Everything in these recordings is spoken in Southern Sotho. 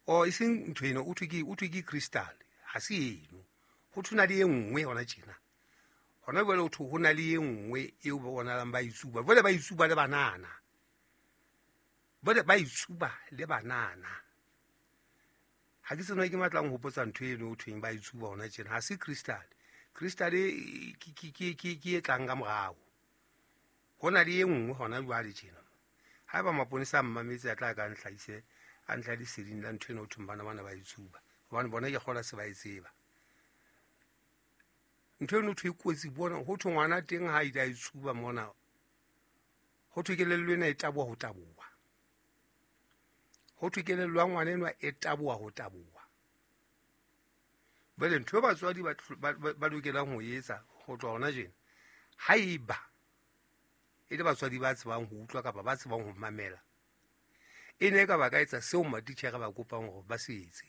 O e seng ntho eno, o thwe ke crystal, ha se eno. Ho thwe na le e nngwe hona tjena. Hona jwale ho thwe ho na le e nngwe eo ba bonahalang ba itsuba. Jwale ba itsuba le banana. Jwale ba itsuba le banana. Ha ke tsena ke matlang ho hopotsa ntho eno ho thweng ba itsuba hona tjena. Ha se crystal. Crystal ke e tlang ka morao. Ho na le e nngwe hona jwale tjena. Haeba maponesa a mmametse a tla ka ntlhaise, a ntlha leseding la ntho eno ho thweng bana bana ba itsuba. Hobane bona ke kgola se ba e tseba. Ntho eno thwe e kotsi bona, ho thwe ngwana teng ha ile a itsuba mona. Ho thwe kelello ena e taboha ho taboha. Ho thwe kelello ya ngwana enwa e taboha ho taboha. Jwale ntho e batswadi ba lokelang ho etsa ho tloha hona jena, haeba e le batswadi ba tsebang ho utlwa kapa ba tsebang ho mamela, e ne e ka ba ka etsa seo matitjhere ba kopang hore ba se etse.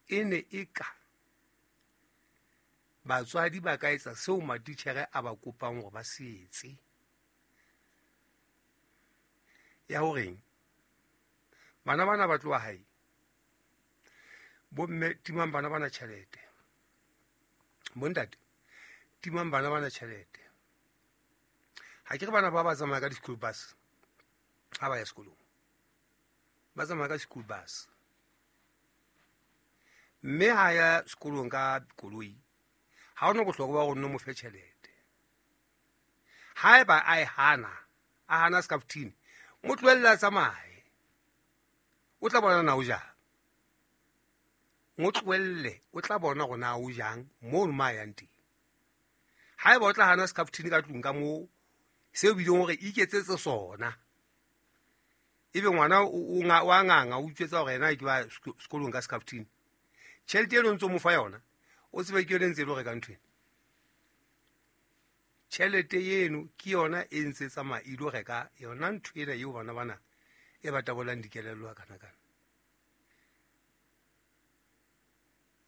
E ne e ka batswadi ba ka etsa seo matitjhere a ba kopang hore ba se etse. Ya horeng bana bana ba tloha hae, bomme timang bana bana tjhelete, bontate timang bana bana tjhelete. Ha ke re bana ba tsamaya ka di-school bus ha ba ya sekolong, ba tsamaya ka school bus. Mme ha ya sekolong ka koloi, ha hona bohlokwa ba hore o mo fe tjhelete. Haeba a e hana, a hana scaftini, mo tlohelle a tsamaye. O tla bona na o jang. Mo tlohelle, o tla bona hore na o jang mono ma yang teng. Haeba o tla hana scaftini ka tlung ka moo, seo bileng hore iketsetse sona. Ebe ngwana o wa nganga, o utswetsa hore yena ke ba sekolong ka scaftini. Tjhelete eno ntso mo fa yona, o tsebe ke yona e ntse e lo reka ntho ena. Tjhelete eno ke yona e ntse tsamaya e lo reka yona ntho ena eo bana bana e ba tabolang dikelello ha kana-kana.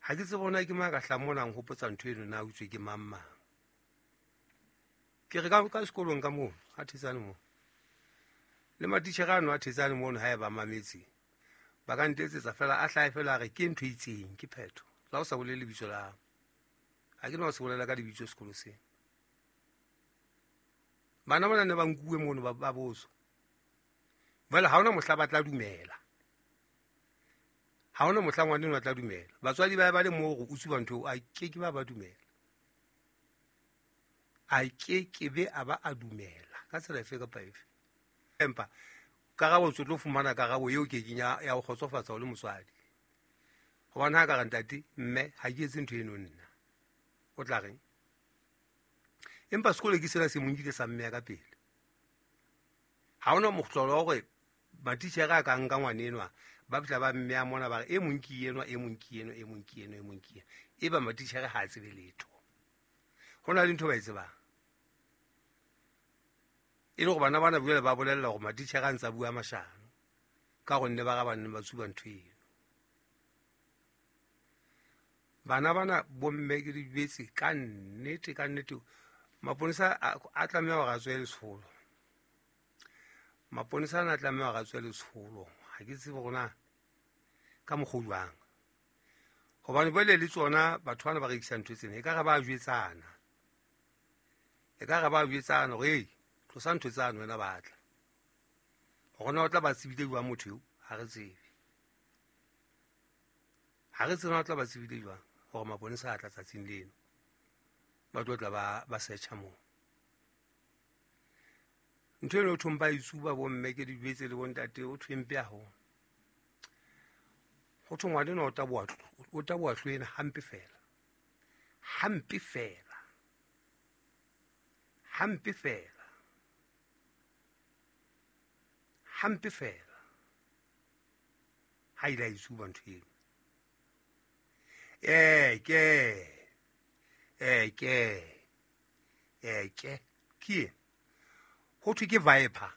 Ha ke tsebe hore na ke mang a ka hlahang mona a nhopotsa ntho eno na utswe ke mang mang. Ke re ka sekolong ka moo, a thetsane moo. Le matitjhere ano a thetsane mono ha e ba mametse. Ba ka ntetsetsa fela, a hlahe fela a re ke ntho e itseng, ke phetho. La o sa bolele lebitso la hao. Ha ke no se bolela ka lebitso sekolo sena. Bana bana ne ba nkuwe mono ba botswa. Jwale ha hona mohla ba tla dumela. Ha hona mohla ngwana enwa a tla dumela. Batswadi ba ba le moo hore o tsuba ntho eo, a ke ke ba ba dumela. A ke ke be a ba a dumela ka tsela efe kapa efe. Empa karabo o tlo fumana karabo eo ke keng ya ho kgotsofatsa o le motswadi. Hobane ha ka re ntate, mme ha ke etse ntho eno nna. O tla reng? Empa sekolo ke sena se mo nkile sa mmeya ka pele. Ha hona mohlolo wa hore matitjhere a ka nka ngwana enwa, ba fihla ba mmeya mona ba re e mong ke enwa, e mong ke enwa, e mong ke enwa, e mong ke enwa. Eba matitjhere ha a tsebe letho. Ho na le ntho ba e tsebang. E le hore bana bana jwale ba bolella hore matitjhere a ntse a bua mashano ka gonne ba ga ba nne ba tsuba ntho eno. Bana bana bomme ke di jwetse ka nnete, ka nnete. Maponesa a tlameha hore a tswe letsholo. Maponesa ana a tlameha hore a tswe letsholo. Ha ke tsebe hore na ka mokgwa o jwang. Hobane jwale le tsona batho bana ba rekisang ntho tsena, ekare ba jwetsana. Ekare ba jwetsana hore, hey, tlosa ntho tsane wena batla. Hore na o tla ba tsebile jwang motho eo, ha re tsebe. Ha re tsebe na o tla ba tsebile jwang hore maponesa a tla tsatsing leno. Ba tlo tla ba search-a moo. Ntho eno ho thweng ba itsuba bomme ke di jwetse le bontate, ho thweng mpe haholo. Ho thwe ngwana enwa o taboha hlwena hampe fela. Hampe fela. Hampe fela. Hampe fela. Ha ile a itsuba ntho eno. Ke. Ke. Ke. Ke eng? Ho thwe ke viper.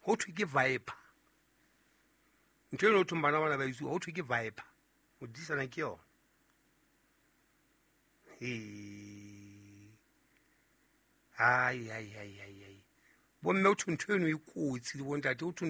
Ho thwe ke viper. Ntho eno ho thweng bana bana ba itsuba, ho thwe ke viper. Ho disana ke yona. He. Ai, ai, ai, ai, ai. Bomme ho thwe ntho eno e kotsi le bontate, ho thwe